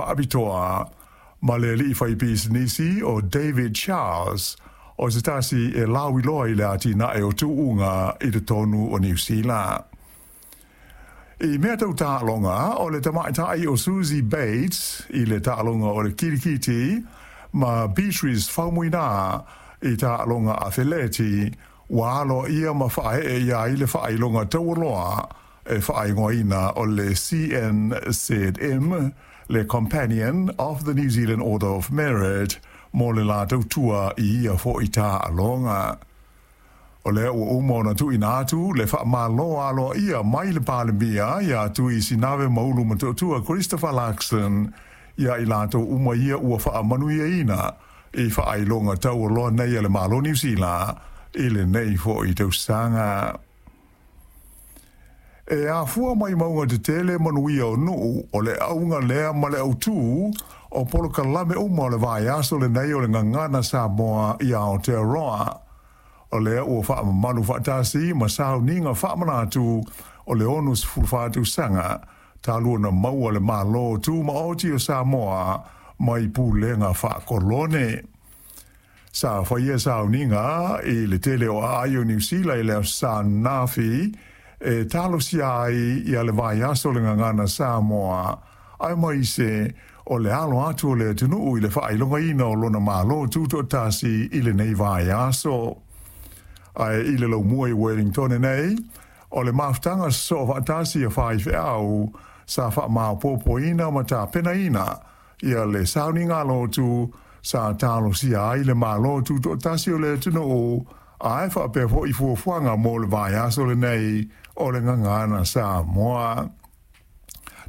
Faapitoa ma le ali'i faipisinisi o David Charles, o se tasi e lauiloa i le atinae o tuuga i totonu o Niu Sila. I mea tau taaloga, o le tamaitai o Suzie Bates i le taaloga o le kilikiti ma Beatrice Faumuina i taaloga afeleti ua aloaia ma faaee ia ai le faailoga taualoa e faaigoaina o le CNZM, le Companion of the New Zealand Order of Merit, mo le la tautua i ia fo'i taaloga. O lea ua uma ona tuuina atu le faamalo aloaia mai le Palemia ia Tui Sinave Maulu Motootua Christopher Luxon ia i latou uma ia ua faamanuiaina i faailoga taualoa nei a le Malo Niu Sila i lenei fo'i tausaga. E afua mai mauga tetele manuia o nuu, o le auga lea ma le autū o polokalame uma o le vaiaso lenei o le Gagana Samoa i Aotearoa. O lea ua faamamalu faatasi ma sauniga faamanatu o le 64 tausaga talu ona maua le Malo Tumaoti o Samoa mai pulega faakolone. Sa faia sauniga i le tele o aai o Niu Sila i le Aso Sa ananafi e talosia ai ia le vaiaso o le Gagana Samoa, aemaise o le alo atu o le atunuu i le faailogaina o lona Malo Tutoatasi i lenei vaiaso. Ae i le laumua i Wellington nei, o le mafutaga sosoo faatasi a faifeau sa faamaopoopoina ma tapenaina ia le sauniga lotu sa talosia ai le Malo Tutoatasi o le atunuu, ae faapea foi fuafuaga mo le vaiaso lenei o le Gagana Samoa.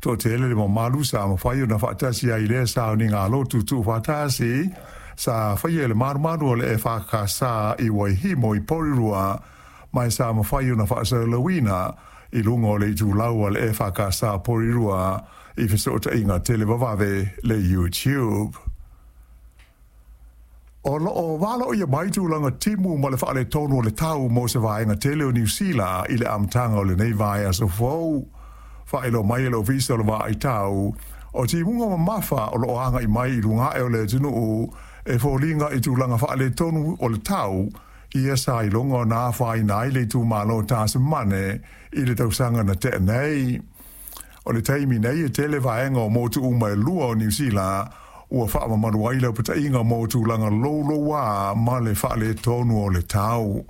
Toatele le mamalu sa mafai ona faatasi ai i lea sauniga lotu tuufaatasi sa faia e le malumalu o le EFKS i Waihimo i Porirua, ma sa mafai ona faasalalauina i luga o le itulau a le EFKS Porirua i fesootaiga televavave le YouTube. O lo o valoia mai tulaga timu ma le faaletonu o le tau mo se vaega tele o Niu Sila i le amataga o lenei vaiaso fou. Faailoa mai e le Ofisa o le Vaai Tau, o timuga mamafa o lo o agai mai i luga ae o le atunuu e foliga i tulaga faaletonu o le tau, ia sa iloga ona afaina ai le itumalo o Tasimane i le tausaga na tea nei. O le taimi nei e tele vaega o motu uma e lua o Niu Sila ua faamamalu ai le upataiga mo tulaga louloua ma le faaletonu o le tau.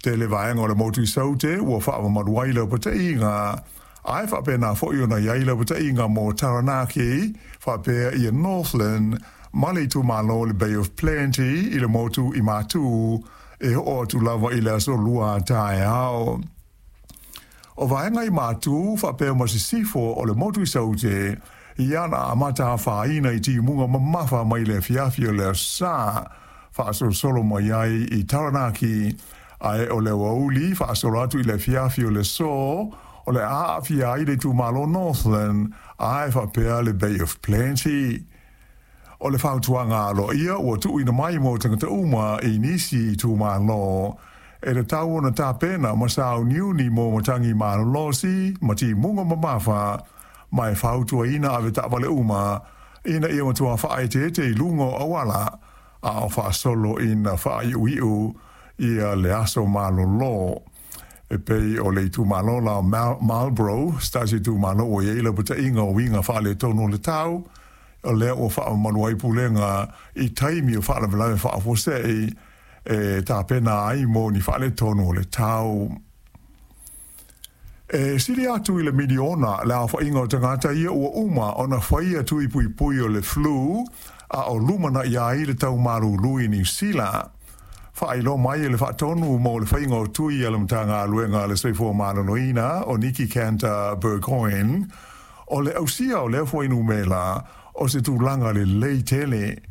Tele vaega o le motu i Saute ua faamamalu ai le upataiga, ae faapena foi ona i ai le upataiga mo Taranaki, faapea ia Northland ma le itumalo o le Bay of Plenty i le motu i Matu, e oo atu lava i le aso Lua taeao. O vaega i Matu faapea ma sisifo o le motu i Saute, ia na amata afaina i timuga mamafa mai le afiafi o le Aso Sa, faasolosolo mai ai i Taranaki, ae o le aoauli faasolo atu i le afiafi o le aso, o le a aafia ai le itumalo Northland ae faapea le Bay of Plenty. O le fautuaga aloaia ua tuuina mai mo tagata uma i nisi itumalo, e tatau ona tapena ma sauniuni mo matagi malolosi ma timuga mamafa, ma e fautuaina avetaavale uma ina ia matua faaeteete i luga o auala a o faasolo ina faaiuiu ia le aso malolo. E pei o le itumalo la o Marlborough, se tasi itumalo ua i ai lapataiga o uiga faaletonu o le tau, o lea ua faamamalu ai pulega i taimi o faalavelave faafuasei e tapena ai mo ni faaletonu o le tau. E sili atu i le miliona le aofaiga o tagata ia ua uma ona faia tui puipui o le flu a o lumanai ai le tau malulu i Niu Sila. Faailoa mai e le Faatonu mo le faiga o tui a le Matagaluega a le Soifua Maloloina o Nikki Cantor Burgoyne, o le ausia o lea fuainumera o se tulaga lelei tele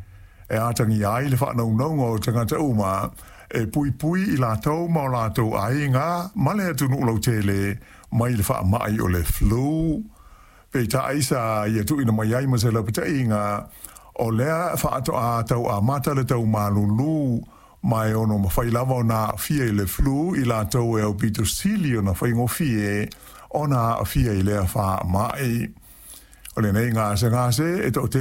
e atagia ai le faanaunauga o tagata uma e puipui i latou ma o latou aiga ma le atunuu lautele mai le faamai o le flu. Peitai sa ia tuuina mai ai ma se lapataiga, o lea faatoa tau amata le tau malulu, ma e ono mafai lava ona aafia i le flu i latou e aupito sili ona faigofie ona aafia i lea faamai. O lenei gasegase e toatele